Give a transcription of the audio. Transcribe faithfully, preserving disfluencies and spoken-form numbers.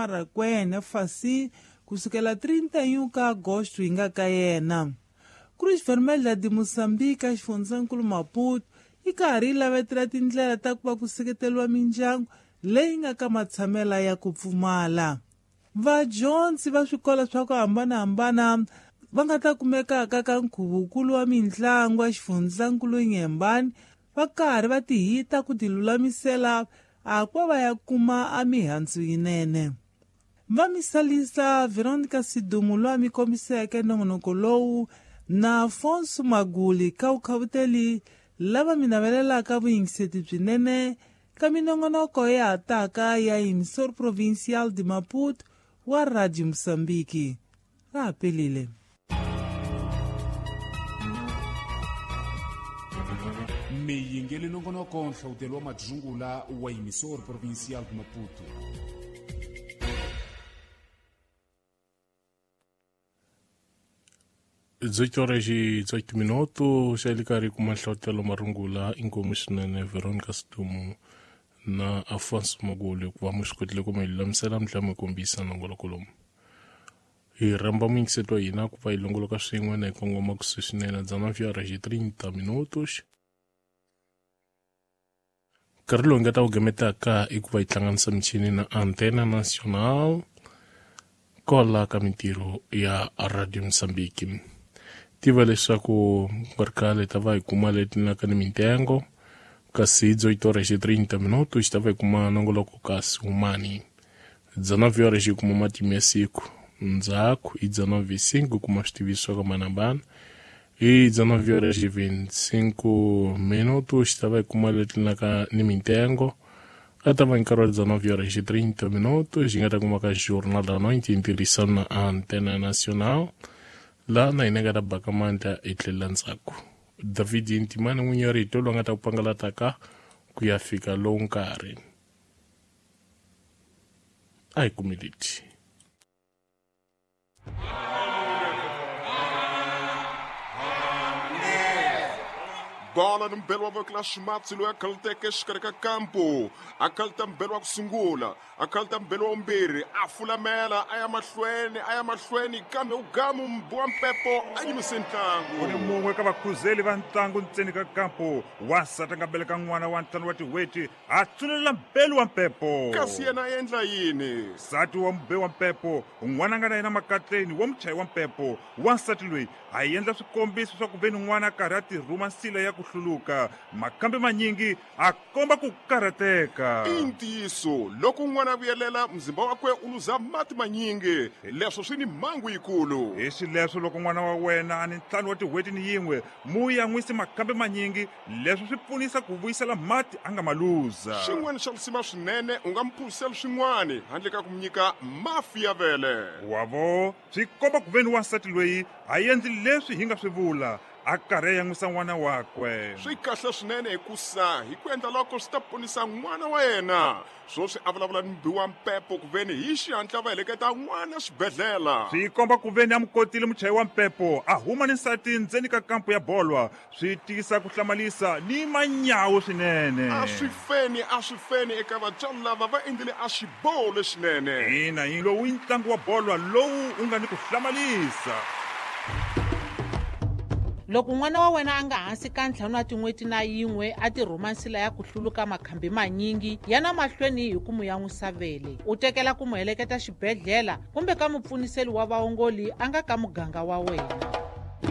Marakwene Fasi kusukela trinta e um ka agosto hi nga ka yena. Cruz Vermelha de Moçambique a xifundzankulu Maputo yi karhi yi lavetela tindlela ta ku va ku seketeriwa mindyangu leyi nga ka matshamela ya ku pfumala. Vadyondzi va swikolo swa ku hambanahambana va nga ta kumekaka ka nkhuvukulu wa mitlangu ya xifundzankulu Nyembani va karhi va tihita ku tilulamisela a ku va ya kuma a mihandzu yinene. Va misalisa Veronica Sidumo loyi a mi kombiseke nongonoko lowu na Afonso Maguli ka vukhavuteli lava mi navelelaka vuyingiseti byinene ka minongonoko ya hataka ya Emissor Provincial de Maputo wa Radio Moçambique. Ra pelile. Miyingeli nongonoko nhlawutelo wa madzungula wa Emissor Provincial de Maputo. dezoito horas e dezoito minutos, já lhe cari com uma nhlawutelo marungula inkomu swinene Veronica Sidumo na Afonso Maguli ku va mi swi kotile ku mi lulamisela mi tlhela mi kombisa nongoloko lomu. Hi rhamba muyingiseti wa hina ku va hi longoloka swin'we na hi kongoma kusuhi swinene dezenove horas e trinta minutos. Nkarhi lowu hi nga ta wu gemetaka i ku va hi hlanganisa michini na Antena Nacional kwala ka mintirho ya Radio Moçambique. Tiva leswaku ku nga ri khale hi ta va hi kuma leti naka ni mintengo kasi dezoito horas e trinta minutos hi ta va hi kuma nongoloko kasi humani. dezenove horas hi kuma matimu ya siku ndzhaku i dezenove e cinco kuma switiviso swa ka manambana i dezenove horas e vinte e cinco minutos hi ta va hi kuma leti naka ni mintengo a ta va nkarhi wa dezenove horas e trinta minutos hi nga ta kuma ka Jornal da Noite hi ntirhisano na Antena Nacional laha na hina nga ta baka mandla hi tlhelela ndzhaku. David Ntimani n'winyi wa rito lowu nga ta ku pangalataka ku ya fika lowu nkarhi. A hi kumi leti. Bola ni mbelo wa voko la ximatsi loyi a khaluteke exikarhi ka kampo a khaluta mbelo wa ku sungula a khaluta mbelo wa vumbirhi a fulamela a ya mahlweni a ya mahlweni kambe u gamu mbu wa mpepo a yimise ntlangu. U ni mun'we ka vakhuzeli va ntlangu ntseni ka kampo wansati a nga beleka n'wana wa ntlhanu wa tin'hweti a tsunelela mbelo wa mpepo. Kasi yena a endla yini? Nsati wa mube wa mpepo n'wana a nga na yena makatleni wa muchayi wa mpepo wansati loyi a endla swikombiso swa ku ve ni n'wana a karhi a tirhuma nsila ya ku hluluka makambe manyingi a komba ku karhateka. I ntiyiso loko n'wana a vuyelela mzimba wakwe u luza mati manyingi leswo swi ni mhangu yikulu. Hi xileswo loko n'wana wa wena a ni ntlhanu wa tin'hweti ni yin'we mu yan'wisi makambe manyingi leswo swi pfunisa ku vuyisela mati a nga ma luza. Xin'wana xa lisima swinene u nga mi phuzisela swin'wana handle ka ku mi nyika mafi ya vele. Wavo swi komba ku ve ni wansati loyi a endli leswi hi nga swi vula a karhi a yan'wisa n'wana wakwe. Swi kahle swinene hikusa hi ku endla loko swi ta ponisa n'wana wa yena. Swoswi a vulavula ni mbi wa mpepo ku veni hi xihatla va heleketa n'wana xibedhlele. Swi komba ku veni a mu kotile muchayi wa mpepo a huma ni nsati ndzeni ka kampo ya bolwa swi tiyisa ku hlamalisa ni manyawu swinene. A swi feni a swi feni eka vatswari lava va endlile a xiboho lexinene. Ina yi lowu i ntlangu wa bolwa lowu u nga ni ku hlamalisa. Loko n'wana wa wena a nga hansi ka ntlhanu wa tin'hweti na yin'we a tirhuma nsila ya ku hluluka makhambi manyingi ya na mahlweni hi ku mu yan'wisa vele u tekela ku mu heleketa xibedhlele kumbe ka mupfuniseli wa vaongoli a nga ka muganga wa wena.